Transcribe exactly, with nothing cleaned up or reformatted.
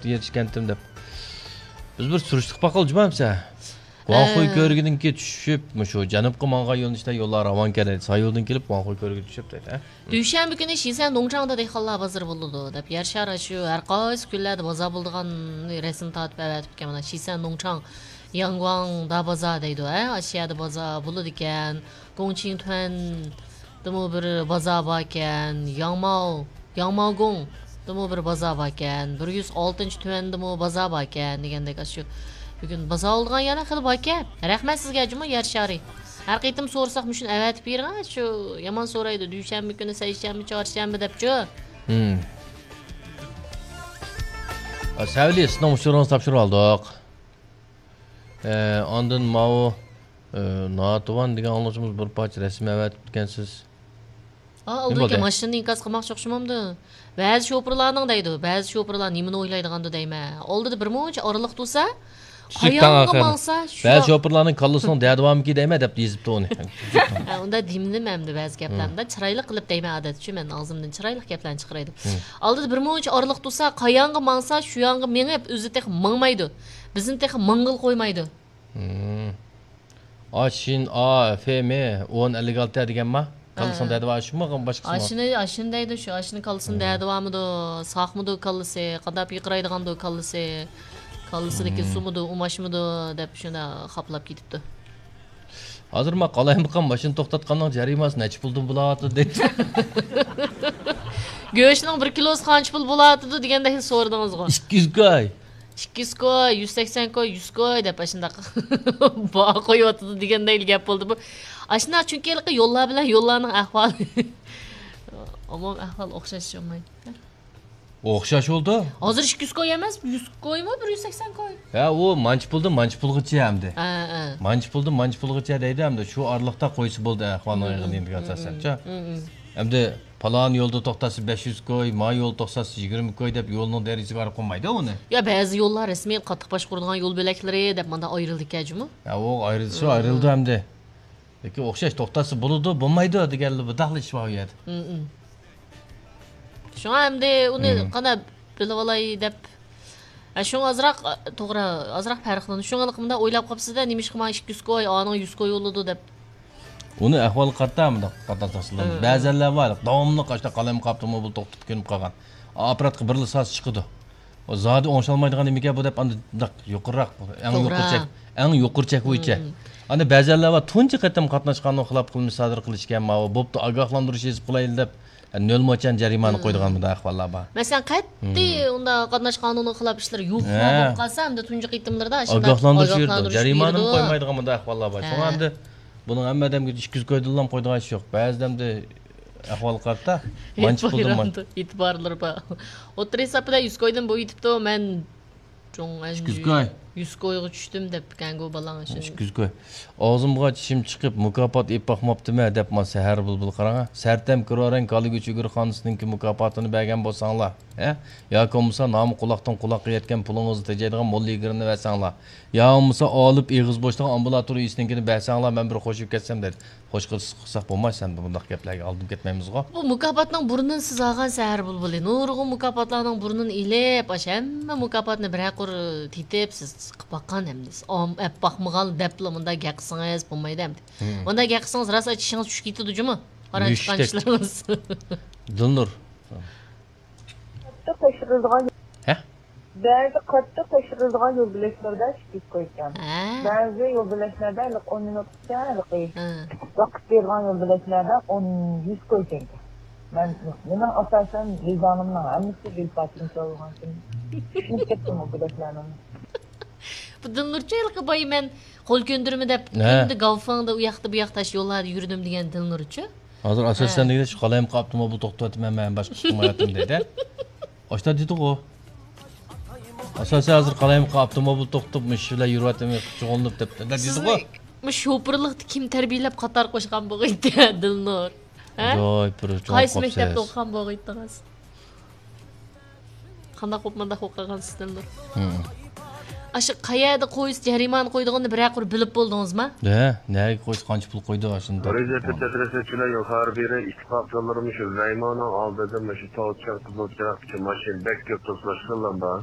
يېتىشكەنتىم دەپ. بىز بىر سۈرۈشتە قىلىپ باقايلى جۇما ئەمىسە. ۋاڭخۇي ئە. كۆۋرۈكىدىن كېيىن چۈشۈپ، مۇشۇ جەنۇبقا ماڭغان يۆنىلىشتە يوللار راۋانكەن دەيدۇ. سايولدىن كېلىپ ۋاڭخۇي كۆۋرۈكىگە چۈشۈپ دەيدۇ، ھە؟ دۈشەنبە كۈنى شىسەن نوڭچاڭدا دېھقانلار بازىرى بولىدۇ، دەپ يەر شارى شۇ ھەر قايسى كۈنلەردە بازار بولىدىغان رەسىم تارتىپ ئەۋەتىپتىكەن. مانا شىسەن نوڭچاڭ، ياڭگۇاڭ دا بازار دەيدۇ، ھە؟ ئاشۇ يەردە بازار بولىدىكەن. گوڭچىڭ تۈەن دىمۇ بىر بازار باركەن، ياڭماۋ، ياڭماۋگوڭ دىمۇ بىر بازار باركەن، بىر يۈز ئالتىنچى تۈەندىمۇ بازار باركەن دېگەندەك، ئاشۇ بۈگۈن بازار بولىدىغان يەرلەر خېلى باركەن. رەھمەت سىزگە جۇمۇ يەر شارى. ھەر قېتىم سورىساق مۇشۇنى ئەۋەتىپ بېرىڭ، شۇ يامان سورايدۇ، دۈشەنبە كۈنى، سەيشەنبە، چارشەنبە دەپچۇ. ھىم. سەۋلى، سىزنىڭ ئۇچۇرىڭىزنى تاپشۇرۇپ ئالدۇق. ئە، ئاندىن ماۋۇ، ئە، ناتىۋان دېگەن ئاڭلىغۇچىمىز بىر پارچە رەسىم ئەۋەتىپتىكەنسىز. ئا، نېمە ئالدى ئىكەن، بولدى؟ ماشىنىنى ئىنكاس قىلماقچى ئوخشىمامدۇ؟ بەزى شوپۇرلارنىڭ دەيدۇ، بەزى شوپۇرلار نېمىنى ئويلايدىغاندۇ دەيمەن. ئالدىدا بىر مۇنچە ئارىلىق تۇرسا، كىچىك تاڭ قايانغا ئاخىرى. ماڭسا شۇ بەزى شوپۇرلارنىڭ كاللىسىنىڭ دەدىۋامىكى دەيمەن دەپ يېزىپتۇ ئۇنى. ھە، ئۇندا دېمىدىم ئەمدى بەزى گەپلەرنى. ھىم. چىرايلىق قىلىپ دەيمەن ئادەتتىچۇ، مەن ئاغزىمدىن چىرايلىق گەپلەرنى چىقىرايدۇ. ھىم. ئالدىدا بىر مۇنچە ئارىلىق تۇرسا، قايانغا ماڭسا شۇ يانغا مېڭىپ، ئۆزى تېخى ماڭمايدۇ. بىزنى تېخى ماڭغىلى قويمايدۇ. ھىم. ئا، شىن، ئا، فې، مې، ئون، ئەللىك ئالتە دېگەنما؟ كاللىسىنىڭ ھە. دەردى بار، شۇمۇ، باشقىسىمۇ؟ ئاشۇنى، ئاشۇنى دەيدۇ، شۇ، ئاشۇنى كاللىسىنىڭ ھىم. دەردى بارمىدۇ، ساقمىدۇ كاللىسى، قانداق پىرقىرايدىغاندۇ كاللىسى، كاللىسىدىكى ھىم. سۇمىدۇ، ئۇماچمىدۇ دەپ شۇنداق خاپىلاپ كېتىپتۇ. ھازىر ما قالايمىقان ماشىنا توختاتقاننىڭ جەرىمانىسى نەچچە پۇلدىن بولۇۋاتىدۇ دەيدۇ. گۆشنىڭ بىر كىلوسى قانچە پۇل بولۇۋاتىدۇ دېگەندەك سورىدىڭىزغۇ. ئىككى يۈز كوي. ئىككى يۈز كوي، يۈز سەكسەن كوي، يۈز كوي دەپ ئاشۇنداق باھا قويۇۋاتىدۇ دېگەندەك گەپ بولدى بۇ. ئاشۇنداق، چۈنكى ھېلىقى يوللار بىلەن يوللارنىڭ ئەھۋالى، ئومۇمىي ئەھۋال ئوخشاش ئوخشىمايدۇ. ئوخشاش بولدى. ھازىر ئىككى يۈز كوي ئەمەس، يۈز كويمۇ، بىر يۈز سەكسەن كوي؟ ھە، ئۇ مانچە پۇلدىن مانچە پۇلغىچە ئەمدى. ھە، ھە. مانچە پۇلدىن مانچە پۇلغىچە دەيدۇ ئەمدى. شۇ ئارىلىقتا قويسا بولدى ئەھۋالنىڭ ئېغىرلىقىغا ئاساسەنچۇ. ئەمدى پالان يولدا توختاتسا بەش يۈز كوي، ما يولدا توختاتسا يىگىرمە كوي دەپ يولنىڭ دەرىجىسىگە قاراپ قويمايدۇ ئۇنى. يا، بەزى يوللار رەسمىي قاتتىق باشقۇرىدىغان يول بۆلەكلىرى دەپ مانا ئايرىلدىكەن جۇمۇ. ھە، ئۇ ئايرىلسا ئايرىلىدۇ ئەمدى. لېكىن ئوخشاش توختاتسا بولىدۇ، بولمايدۇ دېگەنلا بۇنداقلا ئىش بار ئۇ يەردە. مم، مم. شۇڭا ئەمدى ئۇنى مم. قانداق بىلىۋالاي دەپ، ھە، شۇڭا ئازراق، توغرا، ئازراق پەرقلىنىدۇ. شۇڭا مۇنداق ئويلاپ قاپسىز-دە، نېمىشقا ماڭا ئىككى يۈز كوي، ئانىڭ يۈز كوي بولىدۇ دەپ. ئۇنى ئەھۋالغا قارىتا مۇنداق قاتناش تەقسىملىنىدۇ. مم. بەزەنلەر بار، داۋاملىق ئاشۇنداق قالايمىقان ئاپتوموبىل توختىتىپ كۆنۈپ قالغان. ئاپپاراتقا بىرلا ساز چىقىدۇ. ئۇ زادى ئوڭشالمايدىغان نېمىكەن بۇ دەپ، ئاندىن داق يۇقىرىراق، ئەڭ توغرا. يۇقىرى چەك، ئەڭ يۇقىرى چەك بويىچە. مم. ئاندىن بەزەنلەر بار، تۇنجى قېتىم قاتناش قانۇنىغا خىلاپ قىلمىش سادىر قىلىشكەن، ماۋۇ بوپتۇ، ئاگاھلاندۇرۇش يېزىپ قويايلى دەپ، نۆل موچەن جەرىمانە مم. قويىدىغان مۇنداق ئەھۋاللار بار. مەسىلەن، قەتئىي مم. ئۇنداق قاتناش قانۇنىغا خىلاپ ئىشلار يوق ھە. بولۇپ قالسا، ئەمدى تۇنجى قېتىملىرىدا ئاشۇنداق ئاگاھلاندۇرۇش بېرىدۇ، ئاگاھلاندۇرۇش جەرىمانىمۇ بېرىدۇ. قويمايدىغان مۇنداق ئەھۋاللار بار. شۇڭا ھە. ئەمدى بۇنىڭ ھەممە ئادەمگە ئىككى يۈز كويدىنلا قويىدىغان ئىش يوق. بەزىدە ئەمدى ئەھۋالغا قارىتا مانچە پۇلدىن مان- ئېتىبارلىرى بار. ئوتتۇرا ھېسابىدا يۈز كويدىن بويىتىپتۇ، مەن چوڭ ئىككى يۈز كوي. يۈز كويغا چۈشتۈم دەپتىكەنغۇ بالاڭ ئىككى يۈز كوي. ئاغزىمغا چىشىم چىقىپ، مۇكاپات ئېلىپ باقماپتىمەن دەپ، ما سەھەر بۇلبۇل قاراڭا. سەرتەم كىرورەن كالىگۈچ ئۆگۈر خانىسىنىڭكى مۇكاپاتىنى بەرگەن بولساڭلار، ھە؟ ياكى بولمىسا نامى قۇلاقتىن قۇلاققا يەتكەن پۇلىڭىزنى تېجەيدىغان موللا يىگىرنى بەرسەڭلار. يا بولمىسا ئالىپ ئېغىز بوشلۇق ئامبۇلاتور ئىگىسىنىڭكىنى بەرسەڭلار، مەن بىر خوشىيىپ كەتسەم دەيدۇ. خوش قىلسا قىلساق بولماي، سەن بۇنداق گەپلەرگە ئالدىنىپ كەتمەيمىزغۇ. بۇ مۇكاپاتنىڭ بۇرنىنى سىز ئالغان سەھەر بۇلبۇلى. نۇرغۇن مۇكاپاتلارنىڭ بۇرنىنى ئېلىپ، ئاشۇ ھەممە مۇكاپاتنى بىرەر قۇر تېتىپ، سىز قىلىپ باققان ئەمدى. سىز ئام-، ئەپ باقمىغان دەپلا مۇنداق گەپ قىلسىڭىز بولمايدۇ ئەمدى. مۇنداق گەپ قىلسىڭىز راست چىشىڭىز چۈشۈپ كېتىدۇ جۇمۇ. قارا چىققان چىشلىرىڭىز. دىلنۇر. قاتتىق تەكشۈرىدىغان ھە؟ بەزى قاتتىق تەكشۈرىدىغان يول بۆلەكلەردە ئىككى يۈز كويكەن. ھە. بەزى يول بۆلەكلەردە ھېلىقى ئون مىنۇتقىچە ھېلىقى ھە. ۋاقىت بېرىدىغان يول بۆلەكلەردە ئون، يۈز كويكەنكەن. مەن، مېنىڭ ئاساسەن ۋىجدانىمنىڭ ھەممىسى بىر پارچىنى چالغانكىن. چۈشىنىپ كەتتىم ئۇ بۆلەكلەرنىڭ. بۇ دىلنۇرچە ھېلىقى بايا مەن قول كۆندۈرمە دەپ ھە. كۈندە گاۋفېڭدا ئۇ ياقتا بۇ ياقتا ئاشۇ يوللاردا يۈردۈم دېگەن دىلنۇرچە. ھازىر ئاساسەن ھە. دېگىنى شۇ قالايمىقان ئاپتوموبىل توختىتىۋاتىمەن، مەن باشقا ئىش قىلمايۋاتىمەن دەيدۇ. ئاشتا دېدىغۇ. ئاساسەن ھازىر قالايمىقان ئاپتوموبىل توختىتىپ، مۇشۇ بىلەن يۈرۈۋاتىمەن، شۇغۇللىنىپ دەپ، دەپ دېدىغۇ. سىزنى مۇشۇ شوپۇرلۇقتا كىم تەربىيەلەپ قاتار قوشقان بولغىيتتى، دىلنۇر؟ ھە؟ ئاجايىپ بىر چوڭ قايسى مەكتەپتە قوپسىز. ئوقۇغان بولغىيتتىڭىز؟ قانداق بولۇپ مۇنداق بولۇپ قالغان سىستېمىدۇر؟ ھىم. ئاشۇ قەيەردە قويسا جەرىمانە قويىدىغىنىنى بىرەر قۇر بىلىپ بولدىڭىزما؟ ھە، نەگە قويسا قانچە پۇل قويىدۇ ئاشۇنداق. رىزىيەتلىك تەترەسەچىلەر يۇقىرى بېرى ئىتتىپاقچىلىرىمۇ شۇ زەيماننىڭ ئالدىدا مۇشۇ تاۋچىراق، قىزىل چىراغ ئۈچۈن ماشىنا بەك كۆپ توسۇلۇشقانلار بار.